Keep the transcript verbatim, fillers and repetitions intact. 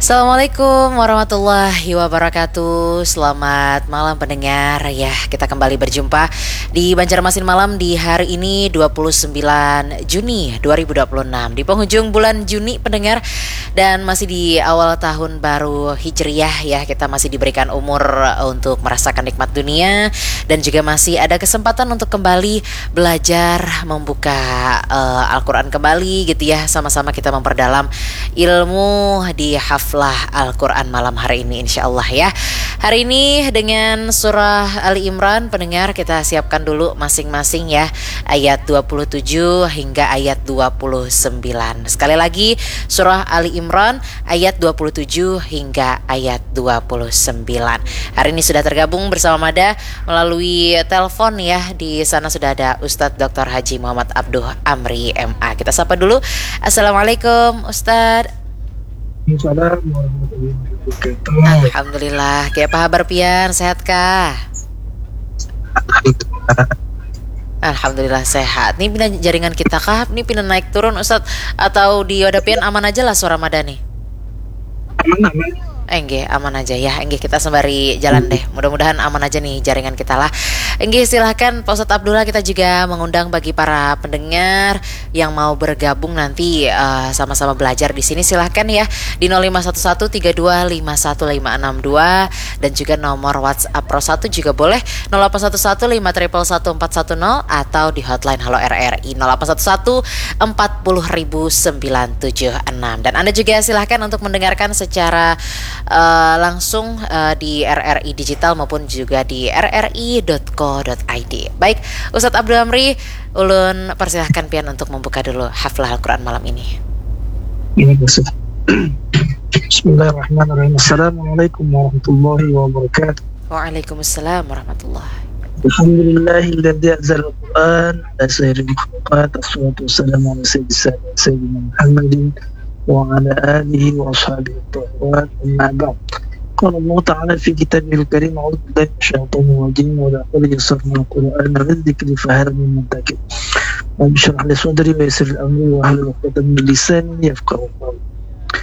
Assalamualaikum warahmatullahi wabarakatuh. Selamat malam pendengar ya. Kita kembali berjumpa di Banjarmasin Malam di hari ini dua puluh sembilan Juni dua ribu dua puluh enam. Di penghujung bulan Juni pendengar dan masih di awal tahun baru Hijriah ya. Kita masih diberikan umur untuk merasakan nikmat dunia dan juga masih ada kesempatan untuk kembali belajar membuka uh, Al-Quran kembali gitu ya. Sama-sama kita memperdalam ilmu di haflah Al-Quran malam hari ini insya Allah ya. Hari ini dengan surah Ali Imran pendengar kita siapkan dulu masing-masing ya. Ayat dua puluh tujuh hingga ayat dua puluh sembilan. Sekali lagi surah Ali Imran ayat dua puluh tujuh hingga ayat dua puluh sembilan. Hari ini sudah tergabung bersama Mada melalui telepon ya. Di sana sudah ada Ustadz doktor Haji Muhammad Abduh Amri M A. Kita sapa dulu. Assalamualaikum Ustadz. Waalaikumsalam warahmatullahi wabarakatuh. Alhamdulillah. Kayak apa kabar pian? Sehat kah? Alhamdulillah sehat. Ini pina jaringan kita kah? Ini pina naik turun Ustadz? Atau di wadah pian aman aja lah suara Mada nih? Aman aman. Enggih, aman aja ya. Enggih, kita sembari jalan deh. Mudah-mudahan aman aja nih jaringan kita lah. Enggih, silahkan Pak Ustadz Abdullah, kita juga mengundang bagi para pendengar yang mau bergabung nanti uh, sama-sama belajar di sini, silahkan ya di nol lima satu satu tiga dua lima satu lima enam dua dan juga nomor WhatsApp Pro satu juga boleh nol delapan satu satu lima triple satu empat satu nol atau di hotline Halo R R I nol delapan satu satu empat puluh ribu sembilan tujuh enam. Dan Anda juga silahkan untuk mendengarkan secara uh, langsung uh, di R R I Digital maupun juga di R R I dot co dot I D. Baik, Ustadz Abdul Amri, ulun persilahkan pian untuk membuka dulu haflah Al-Quran malam ini. Ini masuk. Bismillahirrahmanirrahim. Assalamualaikum warahmatullahi wabarakatuh. Waalaikumsalam warahmatullahi. Alhamdulillahilladzi anzal Al-Quran ala sayyidil makhluqat. Assalatu wassalamu ala sayyidis sadat sayyidina Muhammadin wa ala alihi wa ashabihi tahirat. Amma ba'd. قال الله تعالى في كتابه الكريم: أعوذ بالله من الشيطان الرجيم، ولقد يسرنا القرآن للذكر فهل من مدكر. رب اشرح لي صدري ويسر لي أمري واحلل عقدة من لساني يفقهوا قولي.